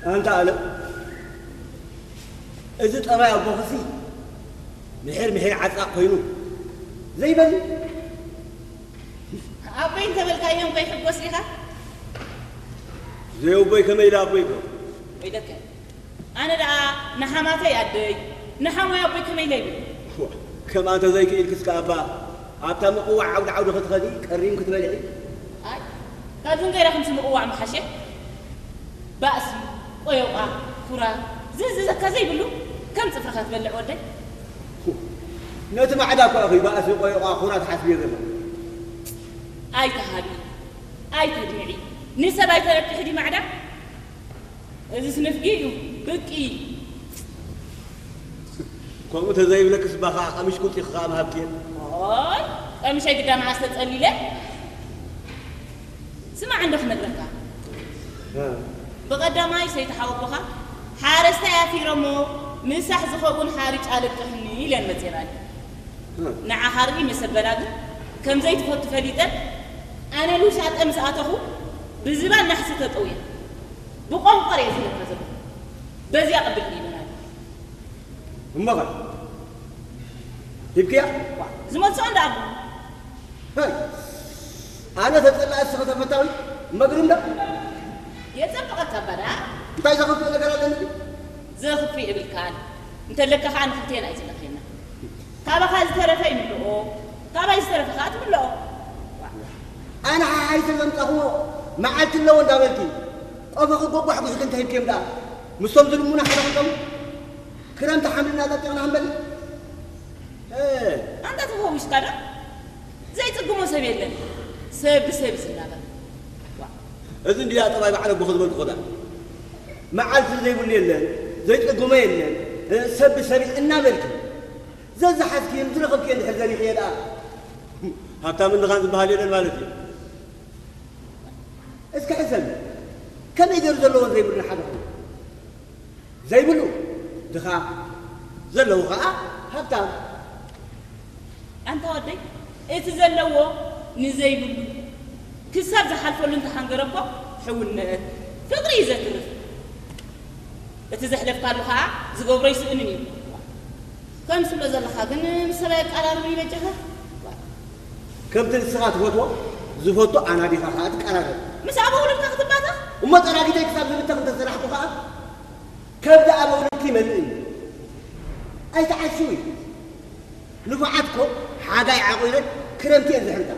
ኣንታ ኣለ፣ እዚ ጠባይ ኣቦኽሲ ምሒር ምሒር ዓጻቕ ኮይኑ ዘይበል። ኣቦይ እንተበልካዮም ከይሕጎስ ኢኻ? ዘየቦይ ከመይ ኢለ ኣቦይ ይብሎ? ወይለከ፣ ኣነ ደኣ ንሓማተይ ኣደይ ንሓሞይ ኣቦይ ከመይ ኢለ ይብል? ከምኣ እንተዘይክኢልክስ ከኣ እባ ኣብታ ምቕዋዕ ዓውዲ ዓውዲ ክትኸዲ ቀሪም ክትበልዒ። ኣይ፣ ካብዚ እንገይራ ከምዚ ምቕዋዕ ምሓሸ። ባእሲ፣ ቆዮቓ፣ ኩራ፣ ዝእዝዘካ ዘይብሉ ከም ጽፍርኻ ትበልዕ ወደይ። ነቲ ማዕዳ እኳ ኢኺ ባእሲ፣ ቆዮቓ፣ ኩራ ትሓስብዮ ዘለኺ። ኣይትሃቢ፣ ኣይተድምዒ፣ ንሰብ ኣይተረብሒ ድዩ ማዕዳ? እዚስ ንፍጊ እዩ፣ ብቂ። ከምኡ ተዘይብለክስ እባ ኸዓ ቀሚሽ ቁጢ ኸዓ ምሃብክየ። ኦይ፣ ቀሚሸይ ግዳ መዓስ ተጸሊለ? ስማዕ እንዶ ክነግረካ። ብቐዳማይ ሰይቲ ሓወቦኻ ሓረስታይ ኣፊረሞ ምሳሕ ዝኸውን ሓርጭ ኣለቅሕኒ ኢለን መጼናኒ። ንዓኻ ርኢ መሰበላ ግን ከም ዘይትፈቱ ፈሊጠ ኣነ ልውሻጠ ምስ ኣተኹ ብዝባን ናሕሲ ተጠውየ ብቆንቆር እየ ዝለካ ዘለኹ። በዚያ ቅብል ኢለናል። እሞኸ ሂብክያ? ዝመልስኦ እንዳ ኣቦ ሀይ፣ ኣነ ተጸላእ እስኸ ተፈታዊ መግርም ዶ? የጸብቐካ እባ ደኣ። እንታይ ዘኽፍእ ነገር ኣለኒ? ዘኽፍእ የብልካን። እንተለካ ኸዓ ንክልቴና እዩ ዝለኽየና። ካባኻ ዝተረፈ ይምልኦ፣ ካባይ ዝተረፈ ኸዓ ትምልኦ። ኣነ ሓሓይሰ ዘምጻኹዎ መዓልቲ ኣለዎ እንዳበልኪ ቆፈኺ ጎጓሕጒሕኪ እንተሂብክዮም ደኣ ምስቶም ዝልሙና ሓደ ክልተሙ ክረምቲ ሓምልና ጠጢቕና ክንበልዕ። እ፣ ኣንታ ተፈዊስካ ዶ? ዘይጽግሞ ሰብ የለን። ሰብ ብሰብ እዩ ዝናበር። ዋ፣ እዚ እንድያ ጠባይ በዓል ኣቦኺ ዝበልኩኺ ደኣ። መዓልቲ ዘይብሉ የለን፣ ዘይጽግሞ የለን፣ እ፣ ሰብ ብሰብ እዩ እናበልኪ ዘዝሓዝክዮን ዝረኸብክዮን ድሕር ዘሪኽዮ ደኣ ሃብታምን ድኻን ዝበሃል የለን ማለት እዩ። እስኪ ሕሰብ፣ ከመይ ገይሩ ዘለዎን ዘይብሉን ሓደ ኮይኑ? ዘይብሉ ድኻ፣ ዘለዎ ኸዓ ሃብታም። ኣንታ ወደይ፣ እቲ ዘለዎ ንዘይብሉ ክሳብ ዝሓልፈሉ እንተሓንገረ እኮ ሕውነት፣ ፍቕሪ እዩ ዘትርፍ። እቲ ዘሕለፍካሉ ኸዓ ዝገብሮ ይስእንን እዩ። ከምዚ ትብሎ ዘለኻ ግን ምስ ሰብ ኣየቃራርብን እዩ በጃኻ። ከምቲ ንስኻ ትፈትዎ ዝፈቱ ኣናዲኻ ኸዓ ትቀራረብ። ምስ ኣበ ውሉድካ ክትባታ? እሞ ጠራጊተይ ክሳብ ዝብተኽ እንተሰራሕኩ ኸዓ ከብዲ ኣበ ውሉድኪ ይመልእ እዩ። ኣይትዓሽዊ። ንፉዓት እኮ ሓጋይ ዓቑረን ክረምቲ እየን ዝሕንታ።